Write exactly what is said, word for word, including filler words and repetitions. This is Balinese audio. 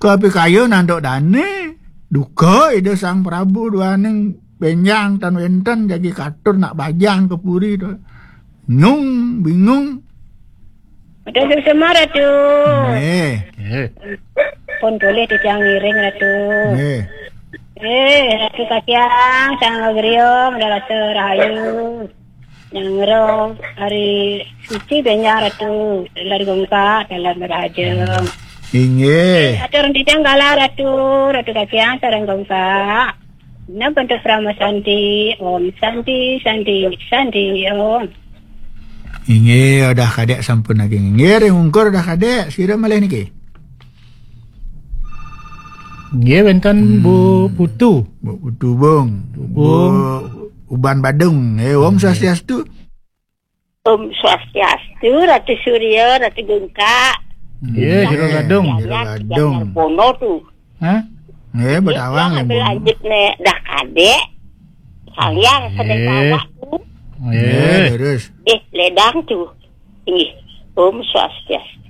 Papikayun antuk dane, duka Ida Sang Prabu duaning benjang tan wenten jagi katur nak bajang ka puri tu. Nyung, bingung. Ratu Suksma, Ratu. Nggih. Nggih. Pun boleh titiang ngiring, Ratu. Nggih. Eh, Ratu Kacang, Sang Griya, Madalasa Rahayu. Nyangro hari suci benjang, Ratu, dalam gungkak, dalam raja. Inggih. Atur titiang galah, Ratu, Ratu Kacang, sareng gungkak. Nah, bentuk Parama Santi, Om Santi, Santi, Santi, Om. Inggih, udah kadek sampun lagi. Inggih, ring ungkur udah kadek. Sira malih niki. Nggih, wenten Bu Putu. Bu Putu, Bung. Bung. Bu Uban Badung. Eh, Om Swastiastu. Om Swastiastu, Ratu Surya, Ratu Gungkak. Nggih, Jero Gadung. Jero Gadung. Bono tu. Hah? Nggih, Betawang, ambil Bung. Lanjut ne dah kadek. Salian sedek awak tu. Nggih, terus. Eh, ledang tu. Nggih. Om Swastiastu.